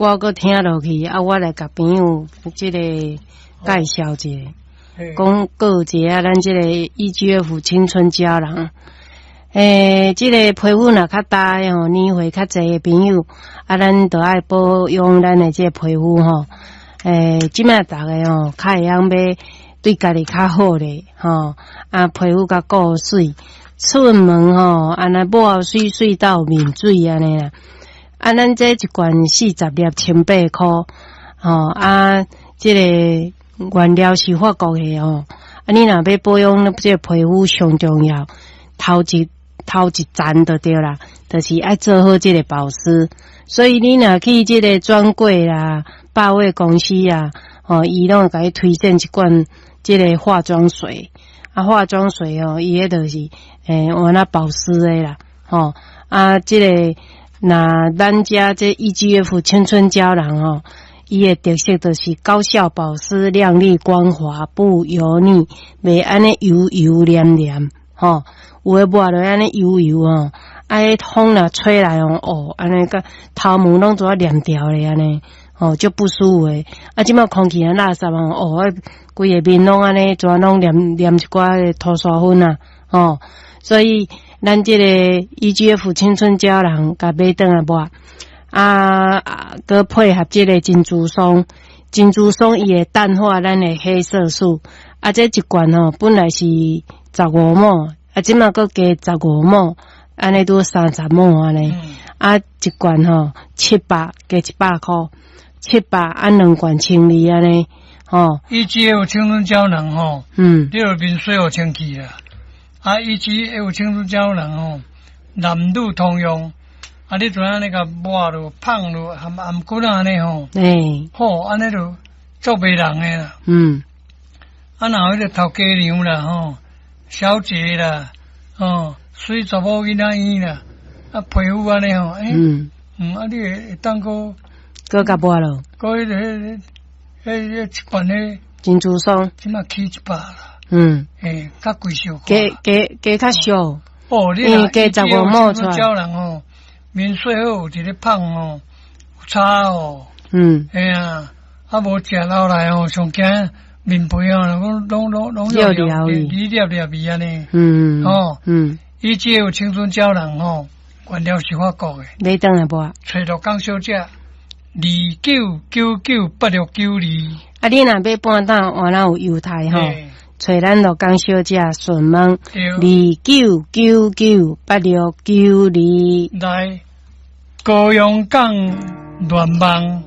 我閣聽落去，啊，我來共朋友這個介紹一下，講告一下咱這個 EGF 青春膠囊。這個皮膚若較焦的吼，年歲較濟的朋友，啊，咱就愛保養咱的這個皮膚吼。這擺逐个吼，較會曉欲對家己較好咧，吼，啊，皮膚較顧媠，出門吼，按呢抹媠媠到面水按呢啦。啊，咱這一罐40粒，1000箍，吼，啊，這個原料是法國的吼。啊，你若欲保養這個皮膚上重要，頭一層就對啦，就是愛做好這個保濕。所以你若去這個專櫃啦、百貨公司啊，吼，伊攏會共你推薦一罐這個化妝水。啊，化妝水哦，伊彼就是換那保濕的啦，吼，啊，這個。那咱遮這 EGF 青春膠囊吼，伊的特色就是高效保濕、亮麗光滑、不油膩，袂按呢油油黏黏，吼，有的抹落按呢油油吼，啊，彼風若吹來哦，哦，按呢個頭毛攏怎黏牢咧按呢，吼，足不舒服的。啊，這擺空氣若垃圾哦，哦，規个面攏按呢，怎攏黏黏一寡塗沙粉啊，吼，所以。咱這個 EGF 青春膠囊，共買轉來抹，啊，閣配合這個珍珠霜，珍珠霜伊會淡化咱的黑色素。啊，這一罐吼本來是15毫，啊，這擺閣加15毫，按呢拄30毫按呢。啊，一罐吼700加100箍，七百啊兩罐千二按呢，吼。 EGF 青春膠囊吼，你著面洗予清氣啦。啊，EGF 青春膠囊吼，男女通用。啊，你就按呢共抹落、噴落、含頷骨按呢吼，好，按呢就足迷人的啦。啊，若彼個頭家娘啦吼，小姐啦，吼，媠查某囡仔嬰啦，啊，皮膚按呢吼，欸，啊，你會當閣閣共抹落，閣彼個、彼、彼、彼一罐彼珍珠霜，這擺起100啦。欸，較貴小可。加加加較俗。哦，你若加15毫出來。膠囊吼，面洗好有一个噴吼，有差哦。嘿啊，啊無食落來吼，上驚面皮哦，攏攏攏攏有粒粒粒粒按呢。吼，EGF 青春膠囊吼，原料是法國的。買轉來抹。揣鹿港小姐，29998692。啊，你若欲半島換哪有猶太吼？揣咱鹿港小姐順問29998692。來高雄港聯網。